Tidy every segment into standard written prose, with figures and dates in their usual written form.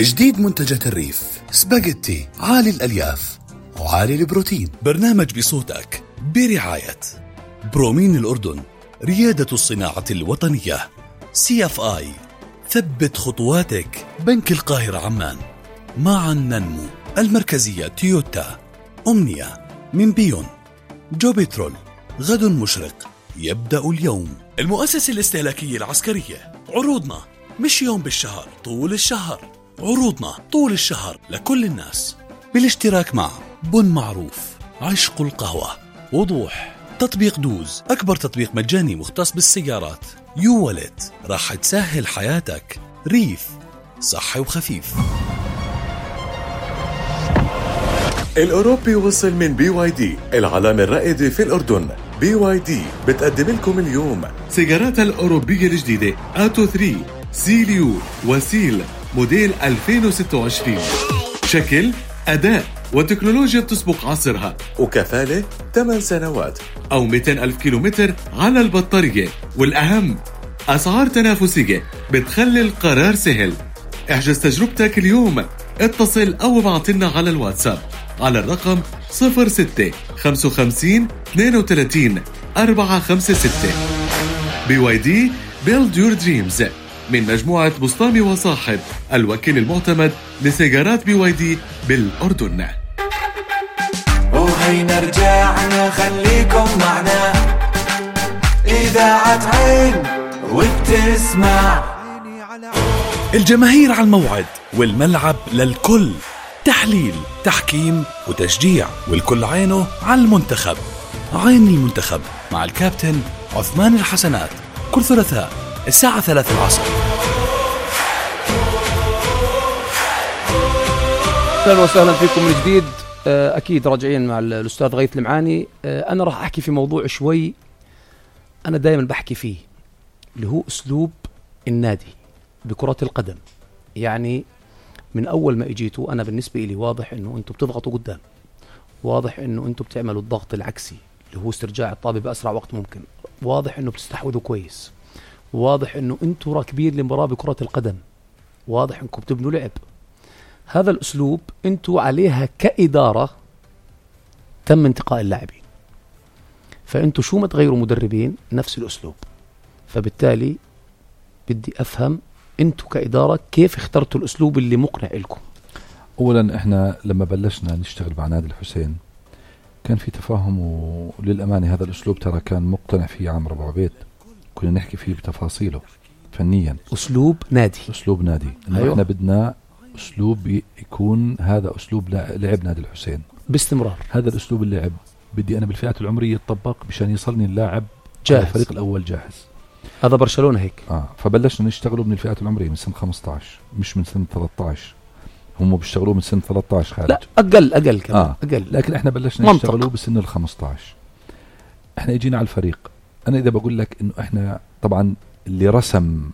جديد منتجات الريف، سباجيتي عالي الألياف وعالي البروتين. برنامج بصوتك برعاية برومين الأردن، ريادة الصناعة الوطنية. CFI، ثبت خطواتك. بنك القاهرة عمان، معا ننمو. المركزية تويوتا. أمنية من بيون. جو بترول، غد مشرق يبدأ اليوم. المؤسسة الاستهلاكية العسكرية، عروضنا مش يوم بالشهر، طول الشهر. عروضنا طول الشهر لكل الناس، بالاشتراك مع بن معروف، عشق القهوة، وضوح. تطبيق دوز، أكبر تطبيق مجاني مختص بالسيارات. يو والت، راح تسهل حياتك. ريف، صحي وخفيف. الأوروبي وصل من BYD، العلامة الرائدة في الأردن. BYD بتقدم لكم اليوم سيجاراتها الأوروبية الجديدة آتو 3 سيليو وسيل موديل 2026. شكل، أداء وتكنولوجيا بتسبق عصرها، وكفالة 8 سنوات أو 200,000 كيلومتر على البطارية. والأهم، أسعار تنافسية بتخلي القرار سهل. احجز تجربتك اليوم، اتصل أو ابعتلنا على الواتساب على الرقم 06 55 32 456. BYD Build Your Dreams من مجموعة بسطامي وصاحب، الوكيل المعتمد لسيجارات BYD بالأردن. وهينا رجعنا، خليكم معنا، إذاعة عين وبتسمع. الجماهير على الموعد والملعب للكل. تحليل، تحكيم وتشجيع، والكل عينه على المنتخب. عين المنتخب مع الكابتن عثمان الحسنات، كل ثلاثاء الساعة 3 العصر. أهلا وسهلا فيكم من جديد. أكيد راجعين مع الأستاذ غيث المعاني. أنا راح أحكي في موضوع شوي أنا دائما بحكي فيه، اللي هو أسلوب النادي بكرة القدم. يعني من أول ما إجيتوا أنا بالنسبة لي واضح إنه أنتوا بتضغطوا قدام، واضح إنه أنتوا بتعملوا الضغط العكسي اللي هو استرجاع الطابة بأسرع وقت ممكن، واضح إنه بتستحوذوا كويس، واضح إنه أنتوا راكبين لمباراة بكرة القدم، واضح إنكم بتبنوا لعب. هذا الأسلوب أنتوا عليها كإدارة تم انتقاء اللاعبين، فأنتوا شو ما تغيروا مدربين نفس الأسلوب. فبالتالي بدي أفهم أنتوا كإدارة كيف اخترتوا الأسلوب اللي مقنع لكم. أولا إحنا لما بلشنا نشتغل مع نادي الحسين كان في تفاهم، وللأمانة هذا الأسلوب ترى كان مقتنع فيه عمرو أبو عبيد، كنا نحكي فيه بتفاصيله فنيا. أسلوب نادي، أسلوب نادي. أيوة. إحنا بدنا أسلوب يكون هذا أسلوب لعب نادي الحسين باستمرار. هذا الأسلوب اللعب بدي أنا بالفئات العمرية يتطبق مشان يصلني اللاعب جاهز، الفريق الأول جاهز. هذا برشلونة هيك. فبلشنا نشتغلوا من الفئات العمرية من سنة 15، مش من سنة 13. هم بيشتغلوا من سنة 13 خارج. لا أقل كمان. أقل. لكن إحنا بلشنا نشتغلوا بسن 15. إحنا اجينا على الفريق. أنا إذا بقول لك إنه إحنا طبعا اللي رسم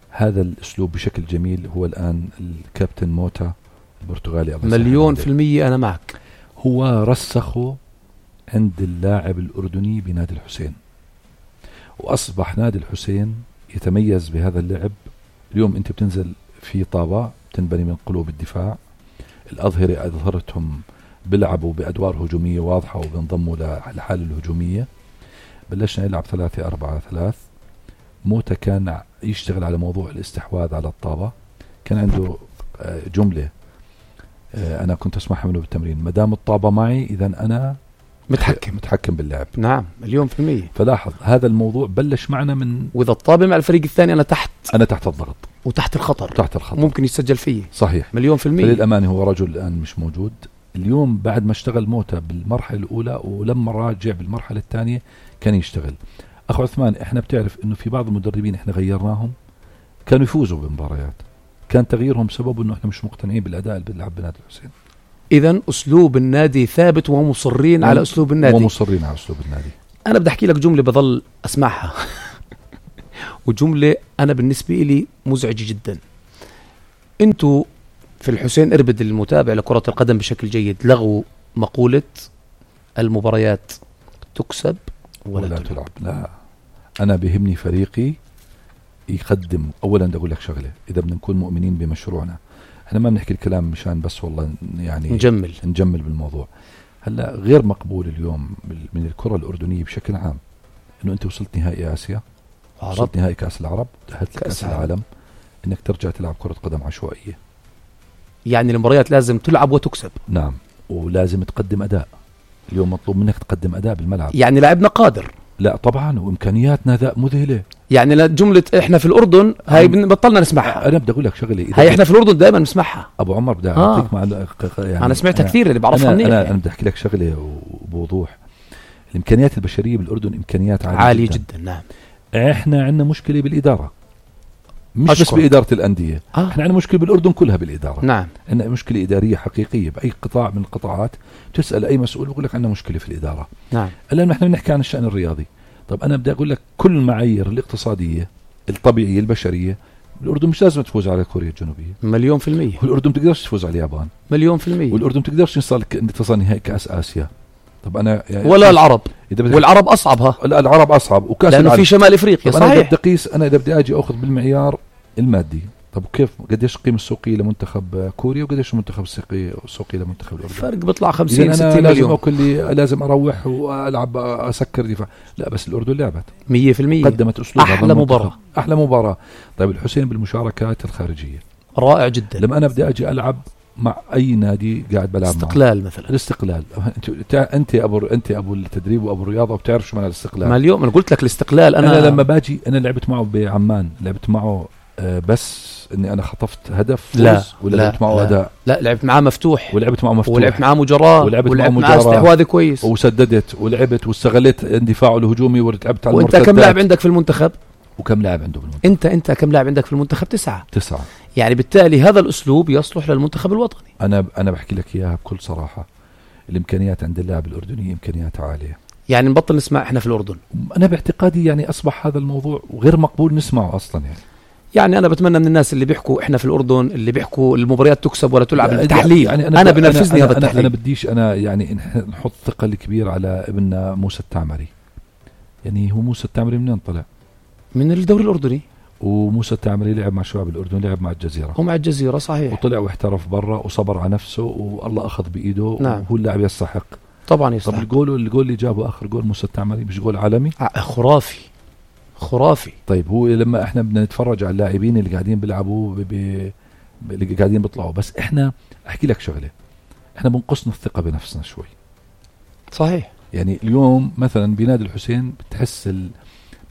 هذا الأسلوب بشكل جميل هو الآن الكابتن موتا البرتغالي. مليون في المية أنا معك. هو رسخه عند اللاعب الأردني بنادي الحسين، وأصبح نادي الحسين يتميز بهذا اللعب. اليوم أنت بتنزل في طابة تنبني من قلوب الدفاع، الأظهرة أظهرتهم بيلعبوا بأدوار هجومية واضحة وبنضموا للحالة الهجومية. بلشنا نلعب 3-4-3. موتا كان يشتغل على موضوع الاستحواذ على الطابة. كان عنده جملة أنا كنت أسمعها منه بالتمرين: مدام الطابة معي إذن أنا متحكم باللعب. نعم، مليون في المية. فلاحظ هذا الموضوع بلش معنا من، وإذا الطابة مع الفريق الثاني أنا تحت الضغط وتحت الخطر، ممكن يسجل فيه. صحيح، مليون في المية. فللأمانة هو رجل الآن مش موجود. اليوم بعد ما اشتغل موتا بالمرحلة الأولى ولما راجع بالمرحلة الثانية كان يشتغل. أخو عثمان، إحنا بتعرف إنه في بعض المدربين إحنا غيرناهم كانوا يفوزوا بمباريات، كان تغييرهم سبب إنه إحنا مش مقتنعين بالأداء اللي بنلعب بنادي الحسين. إذن أسلوب النادي ثابت ومصرين على أسلوب النادي. أنا بدي أحكي لك جملة بظل أسمعها وجملة أنا بالنسبة لي مزعجة جدا. أنتوا في الحسين إربد المتابع لكرة القدم بشكل جيد لغوا مقولة المباريات تكسب ولا تلعب. لا، أنا بيهمني فريقي يقدم. اولا بدي اقول لك شغله، اذا بدنا نكون مؤمنين بمشروعنا، احنا ما بنحكي الكلام مشان بس والله يعني نجمل بالموضوع. هلا غير مقبول اليوم من الكره الاردنيه بشكل عام انه انت وصلت نهائي اسيا، وصلت نهائي كاس العرب، تاهلت كاس العالم، انك ترجع تلعب كره قدم عشوائيه. يعني المباريات لازم تلعب وتكسب. نعم، ولازم تقدم اداء. اليوم مطلوب منك تقدم اداء بالملعب. يعني لاعبنا قادر. لا طبعا، وامكانياتنا ذا مذهله. يعني جمله احنا في الاردن هاي بطلنا نسمعها. انا بدي اقول لك شغله، هاي احنا في الاردن دائما نسمعها. ابو عمر بدي اعطيك يعني انا سمعتها كثير، اللي بعرفها منيح. انا بدي احكي لك شغله وبوضوح. الامكانيات البشريه بالاردن امكانيات عاليه جدا. نعم. احنا عندنا مشكله بالاداره، مش بس باداره الانديه. احنا عندنا مشكله بالاردن كلها بالاداره. نعم. عندنا مشكله اداريه حقيقيه باي قطاع من القطاعات. تسال اي مسؤول بقول لك عندنا مشكله في الاداره. نعم. الان نحن بنحكي عن الشان الرياضي. طب انا بدي اقول لك كل المعايير الاقتصاديه الطبيعيه البشريه، الأردن مش لازم تفوز على كوريا الجنوبية 100%. والأردن تقدرش تفوز على اليابان 100%. والأردن تقدرش تصل نهائي كأس آسيا. طب أنا يعني ولا العرب، والعرب أصعبها. لا العرب أصعب، وكأس لأنه في شمال إفريقيا. صحيح. أنا بدي أقيس، أنا إذا بدي أجي أخذ بالمعيار المادي، طب كيف قديش القيمة السوقية لمنتخب كوريا وقديش المنتخب السوقي لمنتخب الأردن؟ فرق بيطلع 50-60 مليون. لازم أروح وألعب أسكر دفاع. لا بس الأردن لعبت 100%، قدمت أسلوب أحلى مباراة. طيب الحسين بالمشاركات الخارجية رائع جدا. لما أنا بدي أجي ألعب مع أي نادي قاعد بلعب استقلال مثلا. الاستقلال، أنت أبو التدريب وأبو الرياضة وبتعرف شو معنى الاستقلال. ما اليوم أنا قلت لك الاستقلال. أنا لما باجي أنا لعبت معه بعمان، لعبت معه بس إني أنا خطفت هدف فوز. لا ولا لعبت معه أداء؟ لا لعبت معه مفتوح، ولعبت معه مجراة، ولعبت معه استحواذ كويس، وسددت ولعبت واستغلت اندفاعه الهجومي ولعبت على المرتدات. وأنت كم لاعب عندك في المنتخب؟ وكم لاعب عنده بالمنتخب؟ أنت كم لاعب عندك في المنتخب؟ 9. يعني بالتالي هذا الأسلوب يصلح للمنتخب الوطني. أنا بحكي لك إياها بكل صراحة، الإمكانيات عند اللاعب الأردني إمكانيات عالية. يعني نبطل نسمع إحنا في الأردن. أنا باعتقادي يعني أصبح هذا الموضوع غير مقبول نسمعه أصلا. يعني أنا بتمنى من الناس اللي بيحكوا إحنا في الأردن، اللي بيحكوا المباريات تكسب ولا تلعب، التحليل. يعني أنا بنرفزني هذا التحليل. أنا بديش أنا يعني نحط ثقل كبير على ابننا موسى التعمري. يعني هو موسى التعمري منين طلع؟ من الدوري الأردني. وموسى التعمري لعب مع شباب الأردن، لعب مع الجزيرة. ومع الجزيرة صحيح. وطلع واحترف برا وصبر على نفسه والله أخذ بإيده. نعم. وهو اللاعب يستحق. طبعا يستحق. طب الجول اللي جابه آخر جول موسى التعمري مش جول عالمي؟ خرافي. طيب هو لما احنا بدنا نتفرج على اللاعبين اللي قاعدين بيلعبوا اللي قاعدين بيطلعوا، بس احنا احكي لك شغله، احنا بنقصنا الثقه بنفسنا شوي. صحيح. يعني اليوم مثلا بنادي الحسين بتحس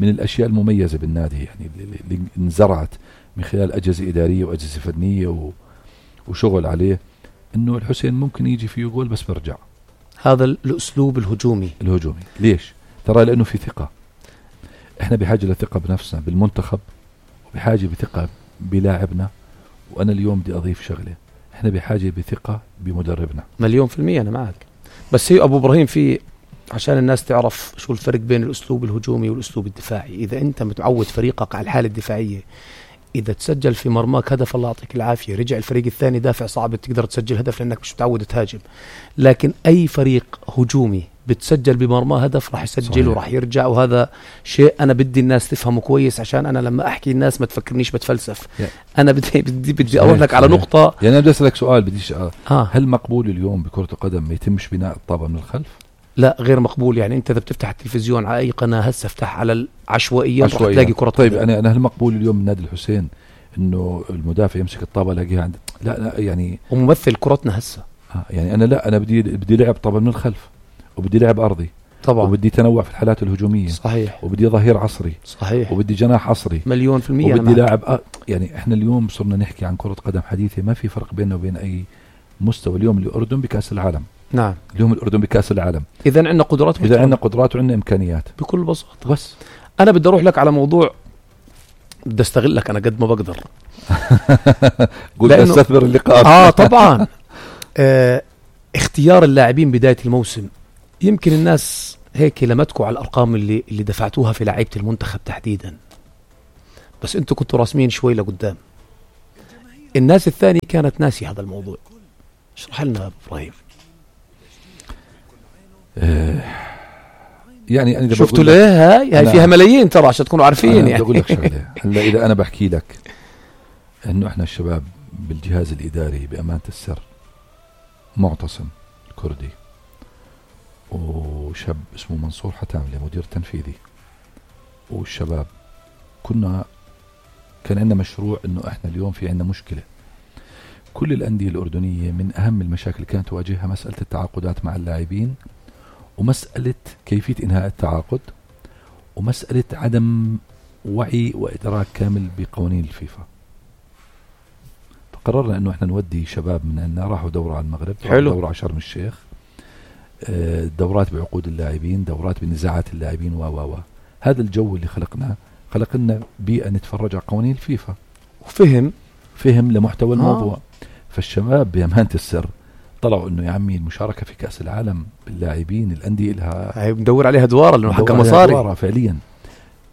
من الاشياء المميزه بالنادي، يعني اللي انزرعت من خلال اجهزه اداريه واجهزه فنيه وشغل عليه، انه الحسين ممكن يجي فيه جول بس برجع. هذا الاسلوب الهجومي. ليش؟ ترى لانه في ثقه. احنا بحاجه لثقه بنفسنا بالمنتخب، وبحاجه بثقه بلاعبنا. وانا اليوم بدي اضيف شغله، احنا بحاجه بثقه بمدربنا 100%. انا معك، بس هي ابو ابراهيم في عشان الناس تعرف شو الفرق بين الاسلوب الهجومي والاسلوب الدفاعي. اذا انت متعود فريقك على الحاله الدفاعيه، اذا تسجل في مرماك هدف الله يعطيك العافيه، رجع الفريق الثاني دافع صعب تقدر تسجل هدف لانك مش متعود تهاجم. لكن اي فريق هجومي بتسجل بمرماه هدف راح يسجل وراح يرجع. وهذا شيء أنا بدي الناس تفهمه كويس، عشان أنا لما أحكي الناس ما تفكرنيش بتفلسف. أنا بدي أقول لك على نقطة. يعني أنا بدي أسألك سؤال، بديش هل مقبول اليوم بكرة القدم ما يتمش بناء الطابة من الخلف؟ لا غير مقبول. يعني أنت إذا بتفتح التلفزيون على أي قناة هسه افتح على العشوائيات راح تلاقي كرة طيب قدم. أنا هل مقبول اليوم من نادي الحسين إنه المدافع يمسك الطابة لاقيها عند لا يعني وممثل كرتنا هسه. يعني أنا بدي لعب طابة من الخلف، وبدي لعب أرضي طبعا، وبدي تنوع في الحالات الهجومية. صحيح. وبدي ظهير عصري. صحيح. وبدي جناح عصري 100%. وبدي لاعب يعني احنا اليوم صرنا نحكي عن كرة قدم حديثة، ما في فرق بيننا وبين أي مستوى. اليوم الأردن بكأس العالم. نعم. اليوم الأردن بكأس العالم. إذا عندنا قدرات. إذا عندنا قدرات وعندنا إمكانيات بكل بساطة. بس أنا بدي أروح لك على موضوع، بدي أستغلك أنا قد ما بقدر. قلت أستثمر اللقاء. طبعا. اختيار اللاعبين بداية الموسم، يمكن الناس هيك لمتكوا على الأرقام اللي دفعتوها في لعيبة المنتخب تحديدا، بس أنتوا كنتوا راسمين شوي لقدام. الناس الثانية كانت ناسي هذا الموضوع. اشرح لنا أبو إبراهيم. يعني أنا شفتوا ليه هاي فيها ملايين ترى عشان تكونوا عارفين. يعني بقول لك شغله هلا اذا انا بحكي لك انه احنا الشباب بالجهاز الاداري بامانه السر معتصم الكردي وشاب اسمه منصور حتاملي مدير تنفيذي والشباب كان عندنا مشروع انه احنا اليوم في عندنا مشكله. كل الانديه الاردنيه من اهم المشاكل اللي كانت تواجهها مساله التعاقدات مع اللاعبين ومساله كيفيه انهاء التعاقد ومساله عدم وعي وادراك كامل بقوانين الفيفا. فقررنا انه احنا نودي شباب من عندنا راحوا دوره على المغرب، دوره على شرم الشيخ، دورات بعقود اللاعبين، دورات بنزاعات اللاعبين و هذا الجو اللي خلقنا بيئة نتفرج على قوانين الفيفا وفهم لمحتوى الموضوع. فالشباب بأمانة السر طلعوا انه يا عمي المشاركة في كأس العالم باللاعبين الأندية لها مدور عليها دوارة لأنه حقها مصاري فعليا.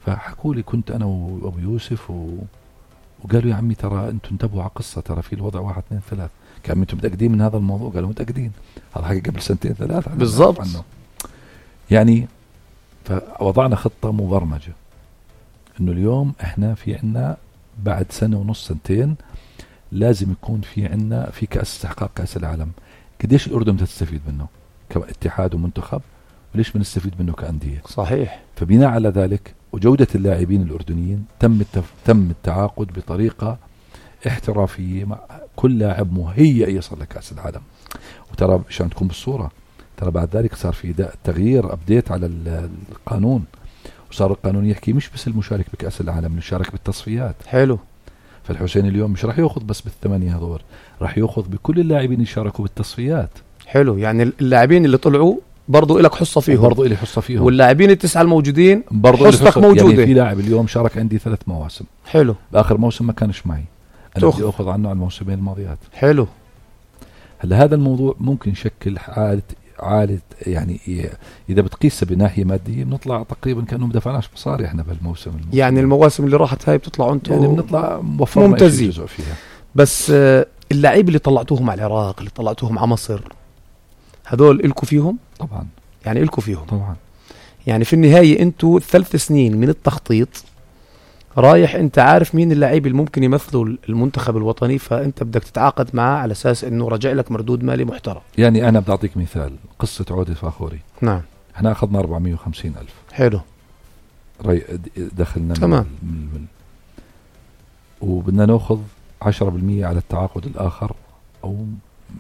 فحكوا لي كنت أنا وأبو يوسف وقالوا يا عمي ترى أنتم انتبهوا على قصة، ترى في الوضع 1 2 3. كان أنتم متأكدين من هذا الموضوع؟ قالوا متأكدين، هذا حكي قبل 2 3 سنين بالضبط يعني. فوضعنا خطة مبرمجة انه اليوم احنا في عنا بعد 1.5 سنة 2 لازم يكون في عنا في كأس استحقاق كأس العالم. قديش الأردن تستفيد منه كاتحاد ومنتخب وليش بنستفيد منه كأندية؟ صحيح. فبناء على ذلك وجودة اللاعبين الأردنيين تم التعاقد بطريقة احترافية مع كل لاعب مهيئ يصل لكأس العالم. وترى عشان تكون بالصورة ترى بعد ذلك صار في تغيير أبديت على القانون، وصار القانون يحكي مش بس المشارك بكأس العالم، نشارك بالتصفيات. حلو. فالحسين اليوم مش راح يأخذ بس بال8 هذول، راح يأخذ بكل اللاعبين يشاركوا بالتصفيات. حلو. يعني اللاعبين اللي طلعوا برضو إلك حصة فيهم، برضو إلي حصة فيهم، واللاعبين ال9 الموجودين برضو حصتك موجودة. يعني في لاعب اليوم شارك عندي 3 مواسم. حلو. بآخر موسم ما كانش معي، أنا بدي أخذ عنه على الموسمين الماضيات. حلو. هلا هذا الموضوع ممكن يشكل عالة يعني إذا بتقيسها بناحية مادية بنطلع تقريبا كأنه ما دفعناش مصاري إحنا بالموسم. يعني المواسم اللي راحت هاي بتطلعوا أنتم يعني بنطلع ممتازين فيها. بس اللاعب اللي طلعتوهم على العراق، اللي طلعتوهم على مصر، هذول إلكوا فيهم؟ طبعا. يعني إلكوا فيهم طبعا. يعني في النهاية أنتوا 3 سنين من التخطيط رايح أنت عارف مين اللاعب اللي ممكن يمثلوا المنتخب الوطني، فأنت بدك تتعاقد معه على أساس أنه رجع لك مردود مالي محترم. يعني أنا بدي أعطيك مثال، قصة عودة فاخوري. نعم. احنا أخذنا 450,000. حلو. دخلنا تمام. وبدنا نأخذ 10% على التعاقد الآخر أو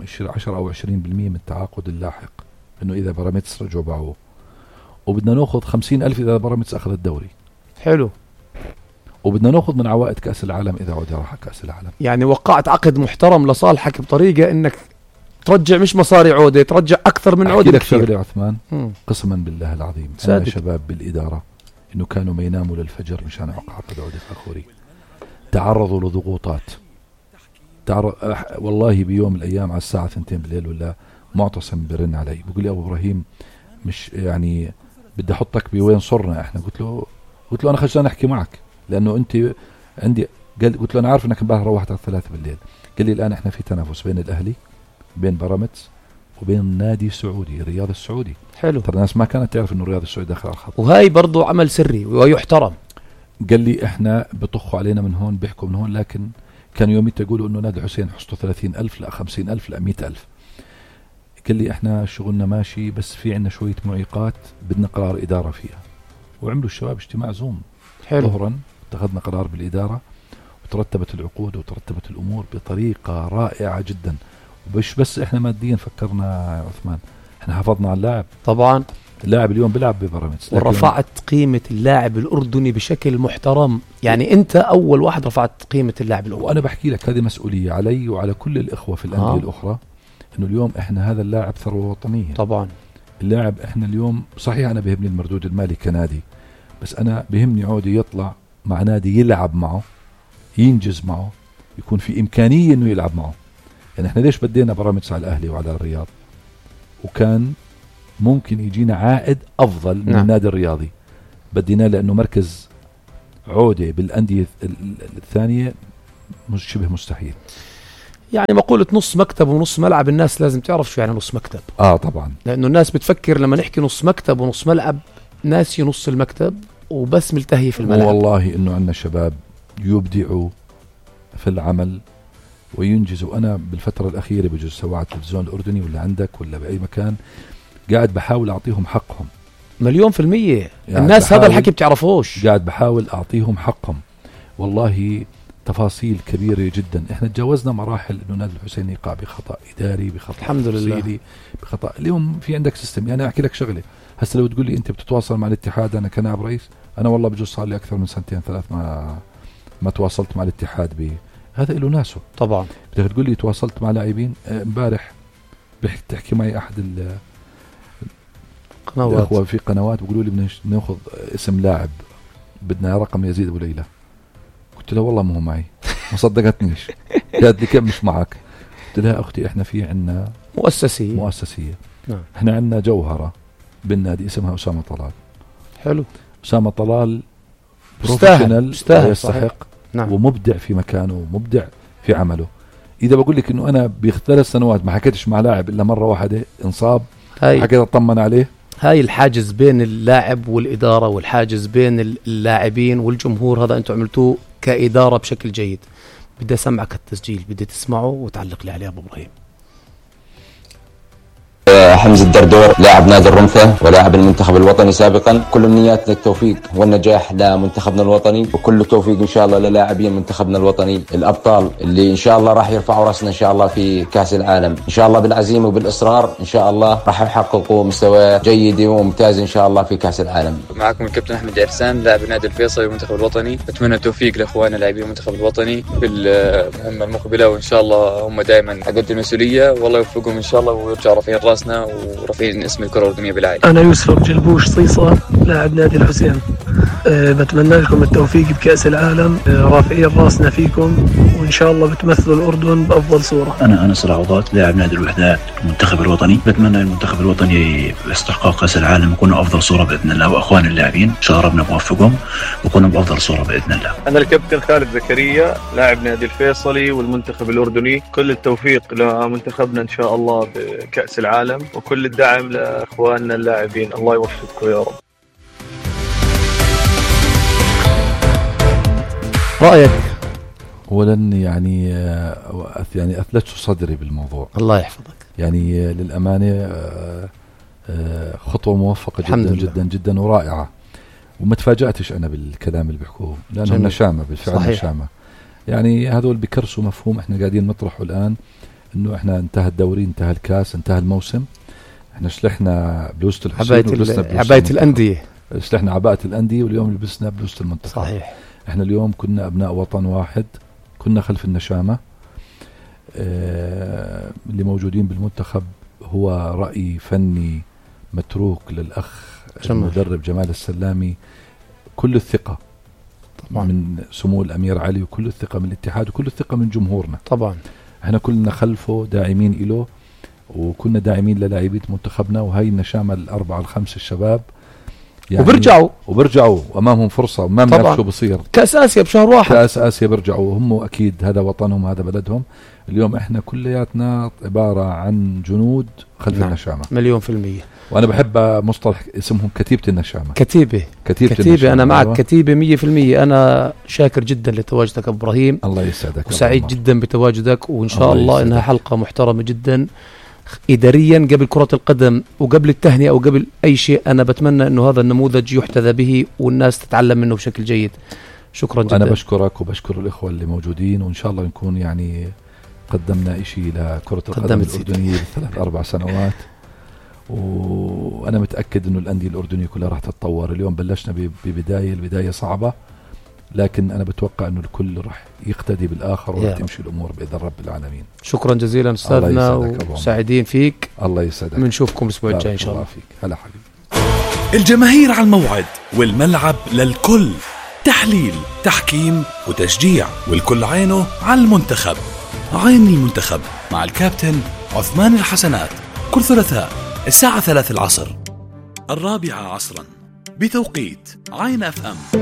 10 أو 20% من التعاقد اللاحق، إنه إذا بيراميدز رجعوا باعوه، وبدنا نأخذ 50,000 إذا بيراميدز أخذ الدوري. حلو. وبدنا نأخذ من عوائد كأس العالم إذا عودة راح كأس العالم. يعني وقعت عقد محترم لصالحك بطريقة إنك ترجع مش مصاري عودة، ترجع أكثر من عودة كثير. أحكي لك عثمان، قسما بالله العظيم أنا شباب بالإدارة إنه كانوا ما يناموا للفجر مشان يوقع عقد عودة فاخوري، تعرضوا لضغوطات. والله بيوم من الأيام على الساعة 2 بالليل ولا معتصم برن علي بيقول لي أبو إبراهيم مش يعني بدي أحطك بوين صرنا إحنا. قلت له أنا خجلان أحكي معك لأنه أنت عندي. قلت له أنا عارف أنك امبارح روحت على 3 بالليل. قال لي الآن إحنا في تنافس بين الأهلي بين بيراميدز وبين نادي سعودي الرياض السعودي. حلو. ترى الناس ما كانت تعرف إنه الرياض السعودي داخل على الخط، وهاي برضو عمل سري ويحترم. قال لي إحنا بطخوا علينا من هون بيحكوا من هون، لكن كانوا يوميت يقولوا إنه نادي حسين حصته 30,000 لا 50,000 لا 100,000. قال لي إحنا شغلنا ماشي بس في عنا شوية معيقات بدنا قرار إدارة فيها. وعملوا الشباب اجتماع زوم. حلو. ظهرا اتخذنا قرار بالإدارة وترتبت العقود وترتبت الأمور بطريقة رائعة جدا. ومش بس إحنا ماديا فكرنا يا عثمان، إحنا حافظنا على اللاعب. طبعا اللاعب اليوم بيلعب ببيراميدز، ورفعت قيمة اللاعب الأردني بشكل محترم. يعني أنت أول واحد رفعت قيمة اللاعب الأردني. وأنا بحكي لك هذه مسؤولية علي وعلى كل الإخوة في الأندية الأخرى، إنه اليوم إحنا هذا اللاعب ثروة وطنية. طبعا اللاعب إحنا اليوم صحيح أنا بيهمني المردود المالي كنادي، بس أنا بيهمني عودي يطلع مع نادي يلعب معه، ينجز معه، يكون في إمكانية إنه يلعب معه. يعني إحنا ليش بدينا بيراميدز على الأهلي وعلى الرياض وكان ممكن يجينا عائد أفضل من النادي الرياضي؟ بدينا لأنه مركز عودة بالأندية الثانية شبه مستحيل. يعني مقولة نص مكتب ونص ملعب، الناس لازم تعرف شو يعني نص مكتب. طبعا، لأنه الناس بتفكر لما نحكي نص مكتب ونص ملعب ناسي نص المكتب وبس ملتهي في الملعب. والله إنه عندنا شباب يبدعوا في العمل وينجزوا. أنا بالفترة الأخيرة بجوز سواء على التلفزيون الأردني ولا عندك ولا بأي مكان قاعد بحاول أعطيهم حقهم 100%. يعني الناس هذا الحكي بتعرفوش. قاعد بحاول أعطيهم حقهم. والله تفاصيل كبيرة جدا. احنا تجاوزنا مراحل انه نادي الحسين يقع بخطأ إداري، بخطأ الحمد لله، بخطأ. اليوم في عندك سيستم. يعني احكي لك شغلة، هسه لو تقول لي انت بتتواصل مع الاتحاد، انا كنائب رئيس، انا والله بجوز صار لي اكثر من 2-3 ما تواصلت مع الاتحاد هذا له ناسه. طبعا بدك تقول لي تواصلت مع لاعبين. امبارح تحكي معي احد الأخوة في قنوات بيقولوا لي بدنا ناخذ اسم لاعب، بدنا رقم يزيد ابو ليلى. قلت له والله ما هو معي، ما صدقتنيش. قالت لي كم مش معك؟ قلت لها اختي احنا في عنا مؤسسية. نعم. احنا عنا جوهرة بالنادي اسمها أسامة طلال. حلو. أسامة طلال بروفيشنال يستحق. نعم. ومبدع في مكانه ومبدع في عمله. إذا بقول لك إنه أنا ب3 سنوات ما حكيتش مع لاعب إلا مرة واحدة انصاب، حكيت أطمن عليه. هاي الحاجز بين اللاعب والإدارة والحاجز بين اللاعبين والجمهور، هذا أنتم عملتوه كإدارة بشكل جيد. بدي أسمعك التسجيل، بدي تسمعه وتعلق لي عليه أبو إبراهيم. حمزة الدردور لاعب نادي الرمثة ولاعب المنتخب الوطني سابقا. كل امنياتنا التوفيق والنجاح لمنتخبنا الوطني، وكل التوفيق ان شاء الله للاعبين منتخبنا الوطني الابطال اللي ان شاء الله راح يرفعوا راسنا ان شاء الله في كاس العالم. ان شاء الله بالعزيمة وبالاصرار ان شاء الله راح يحققوا مستوى جيد وممتاز ان شاء الله في كاس العالم. معكم الكابتن احمد عرسان لاعب نادي الفيصلي والمنتخب الوطني. اتمنى التوفيق لاخواننا لاعبين المنتخب الوطني في المهمة المقبلة، وان شاء الله هم دائما قد المسؤولية، والله يوفقهم ان شاء الله ويرجعوا رافعين راسنا ورافعين اسم الكرة الأردنية بالعالم. أنا يوسف جلبوش صيصة لاعب نادي الحسين. بتمنى لكم التوفيق بكأس العالم، رافعين راسنا فيكم، وإن شاء الله بتمثلوا الأردن بأفضل صورة. أنا أنس العوضات لاعب نادي الوحدات المنتخب الوطني. بتمنى المنتخب الوطني باستحقاق كأس العالم يكونوا أفضل صورة بإذن الله، وأخوان اللاعبين إن شاء الله ربنا بوفقهم ويكونوا بأفضل صورة بإذن الله. أنا الكابتن خالد زكريا لاعب نادي الفيصلي والمنتخب الأردني. كل التوفيق لمنتخبنا إن شاء الله بكأس العالم، وكل الدعم لأخواننا اللاعبين. الله يوفقكم يا رب. رأيك؟ أولا يعني أثلجت صدري بالموضوع. الله يحفظك. يعني للأمانة خطوة موفقة جدا جدا جدا ورائعة، وما تفاجأتش أنا بالكلام اللي بيحكوه، لأنه نشامة بالفعل. صحيح. نشامة. يعني هذول بكرسوا مفهوم احنا قاعدين نطرحه الآن، انه احنا انتهى الدوري، انتهى الكاس، انتهى الموسم، احنا شلحنا بلوزة الحسين عباية الأندية، شلحنا عباءة الأندية، واليوم لبسنا بلوزة المنتخب. صحيح. احنا اليوم كنا أبناء وطن واحد، كنا خلف النشامة. اللي موجودين بالمنتخب هو رأي فني متروك للأخ المدرب جمال السلامي. كل الثقة طبعا من سمو الأمير علي، وكل الثقة من الاتحاد، وكل الثقة من جمهورنا. طبعا احنا كلنا خلفه داعمين إله، وكنا داعمين للاعبية منتخبنا. وهي النشامة ال4-5 الشباب يعني وبرجعوا وأمامهم فرصة، وما بنعرف شو بصير. كأس آسيا بشهر 1، كأس آسيا برجعوا هم، أكيد هذا وطنهم، هذا بلدهم. اليوم احنا كلياتنا عبارة عن جنود خلف النشامة 100%. وأنا بحب مصطلح اسمهم كتيبة النشامة. كتيبة النشامة. أنا معك. كتيبة 100%. أنا شاكر جدا لتواجدك أبو إبراهيم. الله يسعدك. وسعيد جدا بتواجدك، وإن شاء الله إنها حلقة محترمة جدا إداريا قبل كرة القدم وقبل التهنئة وقبل أي شيء. أنا بتمنى إنه هذا النموذج يحتذى به والناس تتعلم منه بشكل جيد. شكرا جدا. أنا بشكرك وبشكر الإخوة اللي موجودين، وإن شاء الله نكون يعني قدمنا إشي لكرة القدم الأردنية ب3-4 سنوات. وأنا متأكد إنه الأندية الأردنية كلها راح تتطور. اليوم بلشنا البداية صعبة، لكن أنا بتوقع إنه الكل راح يقتدي بالآخر وتمشي الأمور بإذن رب العالمين. شكرا جزيلا أستاذنا، وسعيدين فيك. الله يسعدك. بنشوفكم الأسبوع الجاي إن شاء الله. فيك. هلا حبيبي. الجماهير على الموعد، والملعب للكل، تحليل، تحكيم وتشجيع، والكل عينه على المنتخب. عين المنتخب مع الكابتن عثمان الحسنات، كل ثلاثاء الساعة 3 العصر، 4 عصرا بتوقيت عين FM.